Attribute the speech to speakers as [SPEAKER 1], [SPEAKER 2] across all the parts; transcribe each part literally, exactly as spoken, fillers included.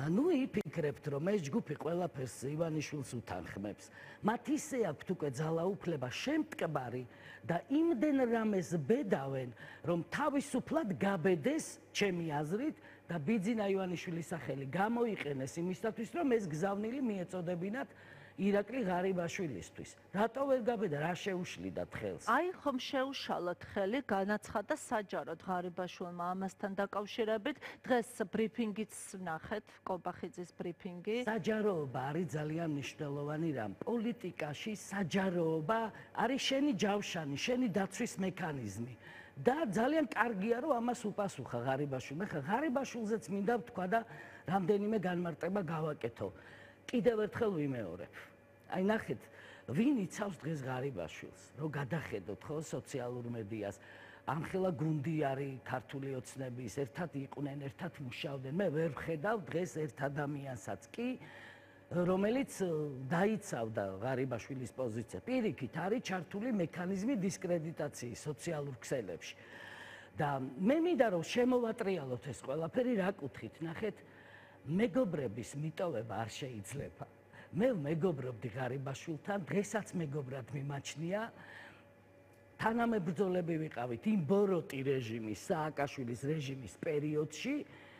[SPEAKER 1] ნუ იფიქრებთ, რომ ეს ჯგუფი ყველაფერს ივანიშვილს უთანხმებს. მათ ისე აქვთ უკვე ძალაუფლება შემტკბარი და იმდენ რამეს ბედავენ, რომ თავისუფლად გაბედეს, ჩემი აზრით, და ბიძინა ივანიშვილის სახელი გამოიყენეს იმისათვის, რომ ეს გზავნილი მიეწოდებინათ ირაკლი ღარიბაშვილისთვის. რატო ვერ გაბედა, რა შეუშლიდათ ხელს?
[SPEAKER 2] აი ხომ შეუშალოთ ხელი, განაცხადა საჯაროდ ღარიბაშვილმა ამასთან დაკავშირებით. დღეს ბრიფინგიც ვნახეთ, კობახიძის ბრიფინგი.
[SPEAKER 1] საჯაროობა არის ძალიან მნიშვნელოვანი რამ. პოლიტიკაში საჯაროობა არის შენი ჯავშანი, შენი დაცვის მექანიზმი. და ძალიან კარგია, რომ ამას უპასუხა ღარიბაშვილმა. ხა ღარიბაშვილზეც მინდა ვთქვა და რამდენიმე განმარტება გავაკეთო. კიდევ ერთხელ ვიმეორებ. აი ნახეთ, ვინ იცავს დღეს ღარიბაშვილს, რომ გადახედოთ ხო სოციალურ მედიას. ამხელა გუნდი არის ქართული ოცნების, ერთად იყვნენ, ერთად მუშაობდნენ. მე ვერ ვხედავ დღეს ერთ ადამიანსაც კი, რომელიც დაიცავდა ღარიბაშვილის პოზიცია. პირიქით არის ჩართული მექანიზმი დისკრედიტაციის სოციალურ ქსელებში. და მე მინდა რომ შემოვატრიალოთ ეს ყველაფერი რა კუთხით, ნახეთ, მეგობრების მიტოვება არ შეიძლება. მე მეგობრობდი ღარიბაშვილთან, დღესაც მეგობრად მიმაჩნია. თანამებრძოლები ვიყავით იმ ბოროტი რეჟიმის, სააკაშვილის რეჟიმის პერიოდში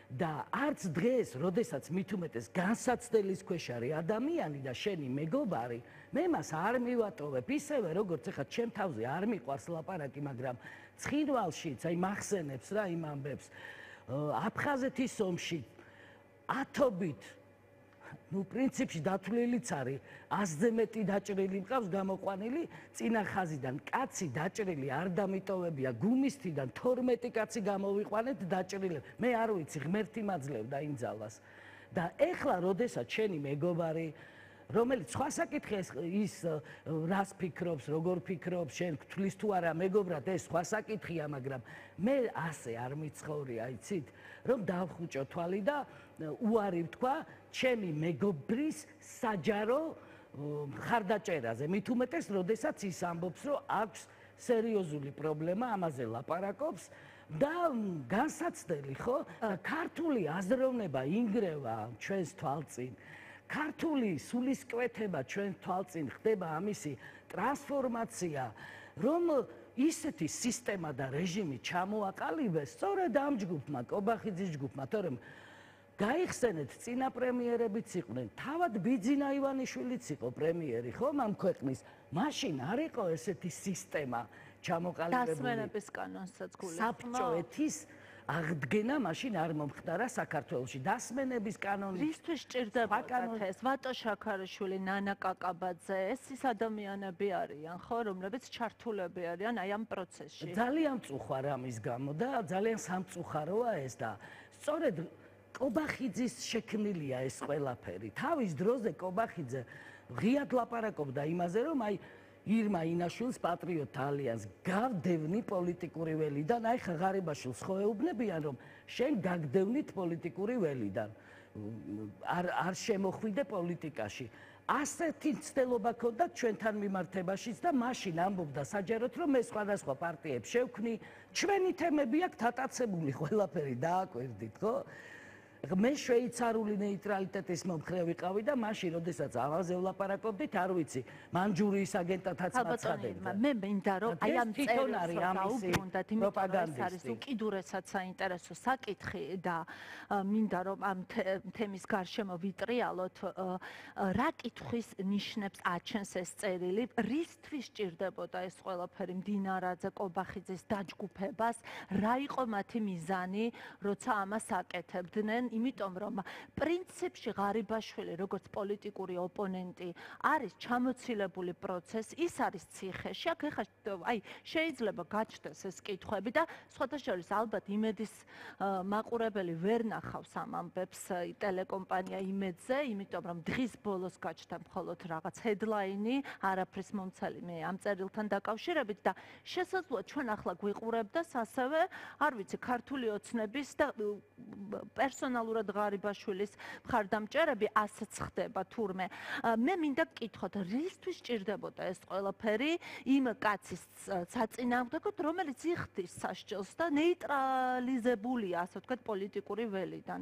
[SPEAKER 1] და არც დღეს, როდესაც მით უმეტეს განსაცდელის ქვეშ არის ადამიანი და შენი მეგობარი, მე მას არ მივატოვებ ისევე, როგორც ეხლა ჩემ თავზე არ მიყვარს ლაპარაკი, მაგრამ ცხინვალშიც, აი მახსენებს რა იმ ამბებს, აფხაზეთის ომში ათობით, ну, პრინციპში დათვლილიც არის, ასზე მეტი დაჭრილი მყავს გამოყვანილი, წინა ხაზიდან კაცი დაჭრილი არ დამიტოვებია, გუმისთიდან თორმეტი კაცი გამოვიყვანეთ დაჭრილებ. მე არ ვიცი, ღმერთი მაძლევდა იმ ძალას. და ეხლა, როდესაც შენი მეგობარი, რომელიც სხვა საკითხია ის რას ფიქრობს, როგორ ფიქრობს, შენ გთვლის თუ არა მეგობრად, ეს სხვა საკითხია, მაგრამ მე ასე არ მიცხოვრია, იცით, რომ დავხუჭო თვალი და უარი ვთქვა ჩემი მეგობრის საჯარო მხარდაჭერაზე. მით უმეტეს, როდესაც ის ამბობს, რომ აქვს სერიოზული პრობლემა, ამაზე ლაპარაკობს და განსაცდელი, ხო? ქართული აზროვნება ინგრევა ჩვენს თვალწინ. ქართული სულისკვეთება ჩვენ თვალწინ ხდება ამისი ტრანსფორმაცია, რომ ისეთი სისტემა და რეჟიმი ჩამოაყალიბეს სწორედ ამ ჯგუფმა, კობახიძის ჯგუფმა, თორემ გაიხსენეთ წინა პრემიერებიც იყვნენ, თავად ბიძინა ივანიშვილიც იყო პრემიერი, ხო, ამ ქვეყნის. მაშინ არ იყო ესეთი სისტემა ჩამოყალიბებული.
[SPEAKER 2] დასმენების კანონსაც გულისხმობ.
[SPEAKER 1] საბჭოეთის აღდგენა მაშინ არ მომხდარა საქართველოში. დასმენების კანონი
[SPEAKER 2] რისთვის სჭირდებოდა ეს? ვატო შაქარაშვილი, ნანა კაკაბაძე, ეს ის ადამიანები არიან, ხო, რომლებიც ჩართულები არიან აი ამ პროცესში.
[SPEAKER 1] ძალიან მწუხარ ამის გამო და ძალიან სამწუხაროა ეს და სწორედ კობახიძის შექმნილია ეს ყველაფერი. თავის დროზე კობახიძე ღიად ლაპარაკობდა იმაზე, რომ აი ირმა ინაშვილს პატრიოტთა ალიანს გავდევნი პოლიტიკური ველიდან. აი ხა ღარიბაშვილს ხო ეუბნებიან, რომ შენ გაგდევნით პოლიტიკური ველიდან. არ არ შემოხვიდე პოლიტიკაში. ასეთი ცდელობა ქონდა ჩვენთან მიმართებაშიც და მაშინ ამბობდა საჯაროდ, რომ მე სხვადასხვა პარტიებს შევქმნი, ჩვენი თემები აქვს დატაცებული, ყველაფერი დააკვირდით, ხო? მე შვეიცარიული ნეიტრალიტეტის მომხრე ვიყავი და მაშინ, როდესაც ამაზე ვლაპარაკობდით, არ ვიცი, მანჯურიის აგენტათაც მაცხადებდა.
[SPEAKER 2] მე მინდა რომ აი ამ წერილს დაუბრუნდეთ, იმიტომ რომ ეს არის უკიდურესად საინტერესო საკითხი და მინდა რომ ამ თემის გარშემო ვიტრიალოთ, რა კითხვის ნიშნებს აჩენს ეს წერილი, რისთვის სჭირდებოდა ეს ყველაფერი მდინარაძე კობახიძის დაჯგუფებას, რა იყო მათი მიზანი, როცა ამას აკეთებდნენ, იმიტომ რომ პრინციპში ღარიბაშვილი როგორც პოლიტიკური ოპონენტი არის ჩამოცილებული პროცესი, ის არის ციხეში. აქ ეხლა აი შეიძლება გაჩნდეს ეს კითხვები და სხვათა შორის ალბათ იმედის მაყურებელი ვერ ნახავს ამ ამბებს ტელეკომპანია იმედზე, იმიტომ რომ დღის ბოლოს გაჩნდა მხოლოდ რაღაც ჰედლაინი, არაფრის მომცალი მე ამ წერილთან დაკავშირებით და შესაძლოა ჩვენ ახლა გვიყურებდეს ასევე, არ ვიცი, ქართული ოცნების და პერსონალურად ღარიბაშვილის მხარდამჭერები ასეც ხდება თურმე. მე მინდა გკითხოთ, რისთვის სჭირდებოდა ეს ყველაფერი იმ კაცის საწინააღმდეგოდ, რომელიც იხდის სასჯელს და ნეიტრალიზებულია, ასე ვთქვათ, პოლიტიკური ველიდან.